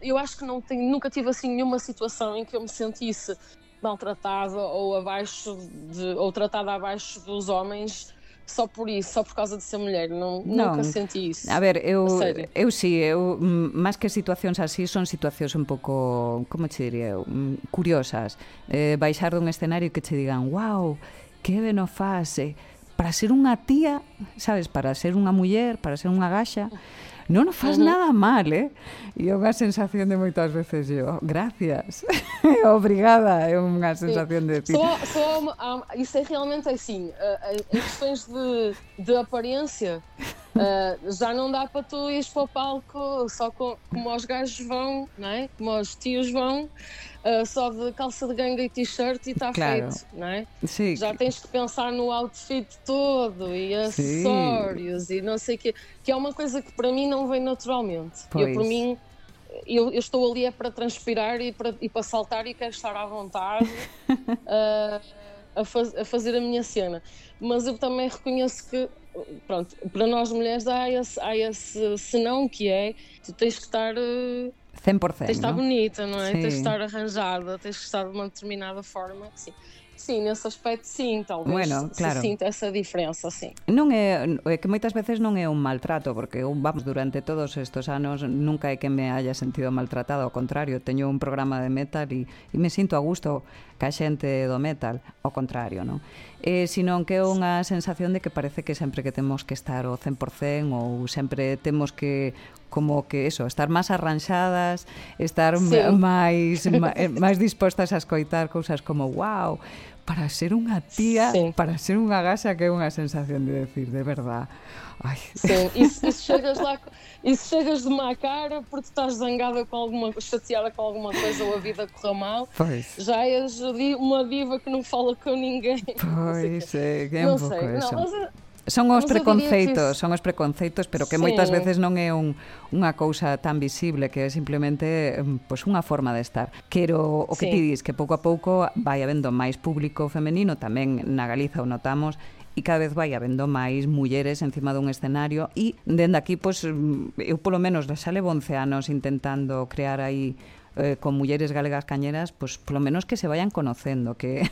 Eu acho que nunca tive assim nenhuma situação em que eu me sentisse maltratada ou tratada abaixo dos homens só por isso, só por causa de ser mulher. Nunca Non, senti a isso. ver, A sério. máis que situacións así, son situacións un pouco, como che diría eu, curiosas. Baixar dun escenario que che digan, wow, que ben o faz, para ser unha tía, sabes, para ser unha muller, para ser unha gaxa, non o faz nada mal, E é unha sensación de moitas veces gracias, obrigada, é unha sensación de decir... Isso é realmente assim, em questões de aparência, já não dá para tu ires para o palco só como os gajos vão, não é? Como os tios vão, só de calça de ganga e t-shirt e está Claro. feito, não é? Sí. Já tens que pensar no outfit todo e acessórios e não sei o quê, que é uma coisa que para mim não vem naturalmente. Por mim, eu estou ali para transpirar e para saltar e quero estar à vontade a fazer a minha cena. Mas eu também reconheço que, pronto, para nós mulheres há esse senão que é, tu tens que estar... 100%, tens de estar bonita, não é? Sim. Tens de estar arranjada, tens de estar de uma determinada forma, sim. Sim, nesse aspecto sim, talvez claro. Se sinta essa diferença, sim. Non é que moitas veces non é un maltrato, porque eu, vamos, durante todos estes anos nunca é que me haya sentido maltratada, ao contrario, teño un programa de metal e me sinto a gusto ca xente do metal, ao contrario, non? Senón que é unha sensación de que parece que sempre que temos que estar ao 100% ou sempre temos que como que eso, estar máis arranxadas, estar máis dispostas a escoitar cousas como wow, para ser unha tía, para ser unha gaxa, que é unha sensación de decir, de verdad. Ai. Sim, e se chegas lá e se chegas de má cara porque estás zangada chateada com alguma coisa ou a vida correu mal, já és uma diva que não fala com ninguém. Pois, é un pouco eso. Son os preconceitos, pero que moitas veces non é unha cousa tan visible, que é simplemente unha forma de estar. Quero o que ti dis, que pouco a pouco vai habendo máis público femenino, tamén na Galiza o notamos, e cada vez vai habendo máis mulleres encima dun escenario, e dende aquí, eu polo menos xa levo 11 anos intentando crear aí con mulleres galegas cañeras, polo menos que se vayan conocendo, que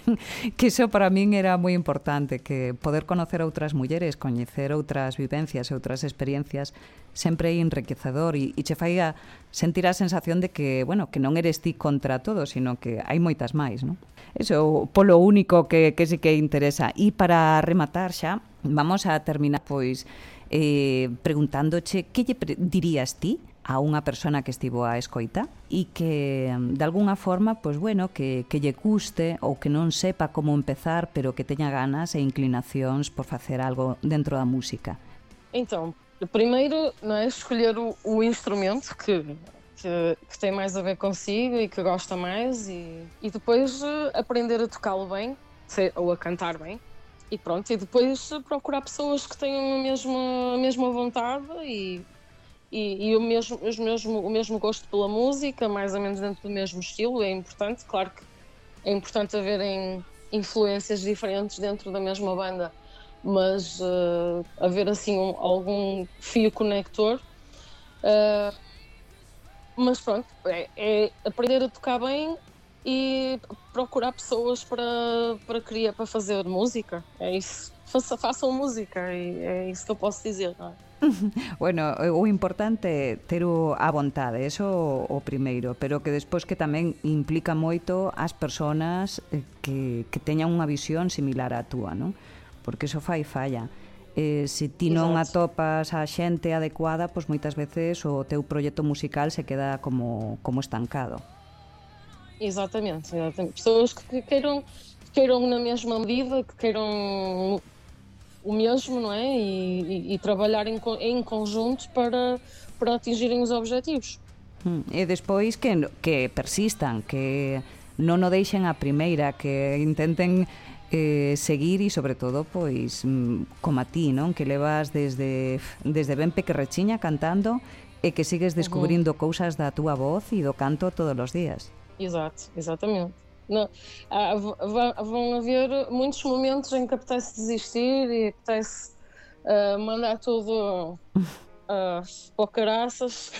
iso para min era moi importante, que poder conocer outras mulleres, coñecer outras vivencias e outras experiencias sempre é enriquecedor e che fai sentir a sensación de que, bueno, que non eres ti contra todo, sino que hai moitas máis, non? Eso polo único que sí que interesa. E para rematar xa, vamos a terminar preguntándoche que lle dirías ti a unha persona que estivo a escoita e que, de alguna forma, que lle custe ou que non sepa como empezar, pero que teña ganas e inclinacións por facer algo dentro da música? Então, primeiro, não é, escolher o instrumento que tem mais a ver consigo e que gosta mais e depois aprender a tocá-lo bem ou a cantar bem e pronto, e depois procurar pessoas que tenham a mesma vontade e o mesmo gosto pela música, mais ou menos dentro do mesmo estilo. É importante, claro que é importante haverem influências diferentes dentro da mesma banda, mas haver assim algum fio conector. Mas pronto, é aprender a tocar bem e procurar pessoas para fazer música. É isso. Façam música e é isso que eu posso dizer, não é? Bueno, o importante é ter a vontade, eso o primeiro, pero que despois que tamén implica moito as persoas que teñan unha visión similar á túa, non? Porque eso falla. Se ti non atopas a xente adecuada, pois moitas veces o teu proxecto musical se queda como estancado. Exatamente. Pessoas que queiram na mesma medida, que queiram o mesmo, não é? E trabalhar em conjunto para atingirem os objetivos. E despois que persistan, que non o deixen a primeira, que intenten seguir e, sobre todo, pois, como a ti, non? Que levas desde ben pequerrechiña cantando e que sigues descubrindo cousas da túa voz e do canto todos os días. Exatamente. Não, vão haver muitos momentos em que apetece desistir e apetece mandar tudo Pô, caraças.